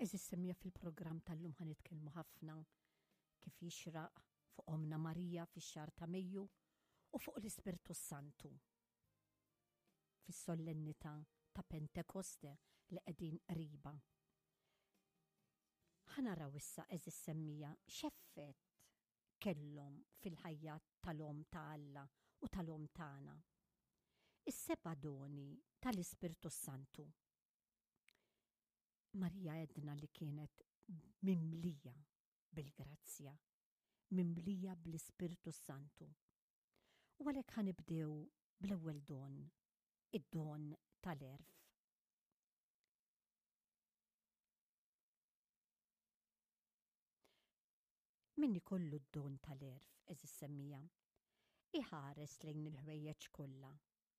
Eżis semja fil-programm tal-lum ħa nitkellmu ħafna kif jixraq fuq Omna Marija fix-xahar ta' Mejju u fuq l-Ispirtu Santu fis-sollennità ta' Pentekoste li qegħdin qriba. Ħa naraw issa eżis semmija x'effett kellhom fil-ħajja tal-Omm ta' Alla u tal-Omm tagħna. Is-seba' doni tal-Ispirtu Santu. Marija għedna li kienet mimlija bil-grazzja, mimlija bl-Ispirtu Santu. U għalhekk ħa nibdew bl-ewwel don, id-don tal-għerf. Min ikollu d-don tal-għerf, għeżież semmiegħa, iħares lejn il-ħwejjeġ kollha,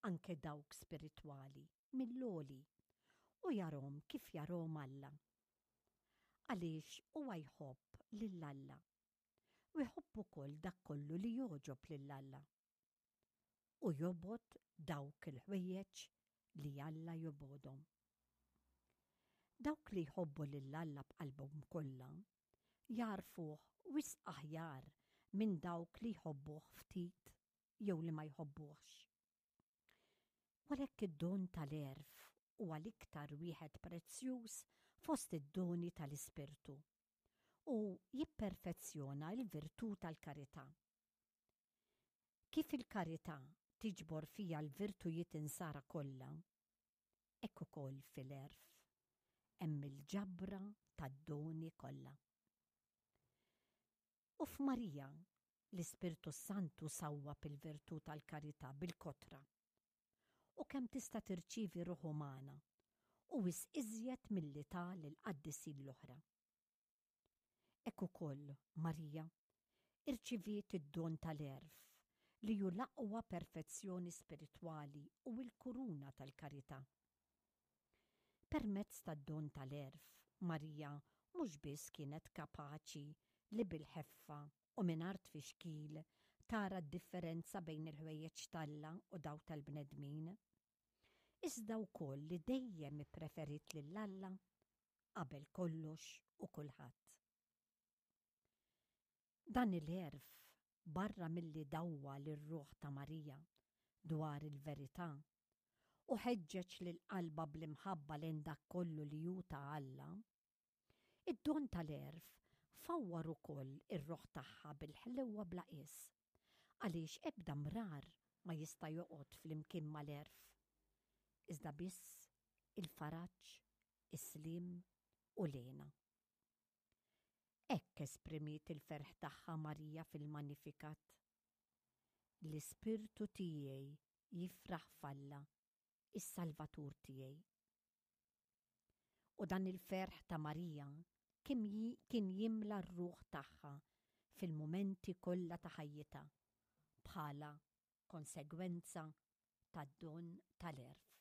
anke dawk spiritwali, mill-għoli, u jarhom kif jarhom Alla. Għaliex huwa jħobb lil Alla, u jħobb ukoll dak kollu li jogħġob lil Alla. U jobgħod dawk il-ħwejjeġ li Alla jobgħodhom. Dawk li jħobbu lil Alla b'qalbhom kollha jagħrfuh wisq aħjar minn dawk li jħobbuh ftit jew li ma jħobbuhx. U għalhekk id-don tal-għerf huwa l-iktar wieħed prezzjuż fost id-doni tal-Ispirtu u jipperfezzjona l-virtù tal-karità. Kif il-karità tiġbor fiha l-virtujiet insara kollha, hekk ukoll fil-għerf hemm il-ġabra tad-doni kollha. U f'Marija, l-Ispirtu s-Santu sawwab il-virtù tal-karità bil-kotra. U kemm tista' tirċievi ruħ umana, u wisq iżjed milli ta lill-qaddisin l-oħra. Hekk ukoll Marija irċiviet id-don tal-għerf li hu l-aqwa perfezzjoni spiritwali u l-kuruna tal-karità. Permezz tad-don tal-għerf, Marija mhux biss kienet kapaċi li bil-ħeffa u mingħajr tfixkil tara d-differenza bejn il-ħwejjeġ t'Alla u dawk tal-bnedmin, iżda wkoll li dejjem ippreferiet lil Alla qabel kollox u kulħadd. Dan il-għerf, barra milli dawwal ir-ruħ ta' Marija dwar il-verità u ħeġġeġ lil qalbha bl-imħabba lejn dak kollu li hu ta' Alla, id-don tal-għerf fawwar ukoll ir-ruħ tagħha bil-ħlewwa bla qies, għaliex ebda mrar ma jista' joqgħod flimkien mal-għerf, iżda biss il-faraġ, is-sliem u l-hena. Hekk esprimiet il-ferħ tagħha Marija fil-Magnificat. L-ispirtu tiegħi jifraħ f'Alla, is-Salvatur tiegħi. U dan il-ferħ ta' Marija kien jimla r-ruħ tagħha fil-mumenti kollha ta' ħajjitha bħala konsegwenza tad-don tal-għerf.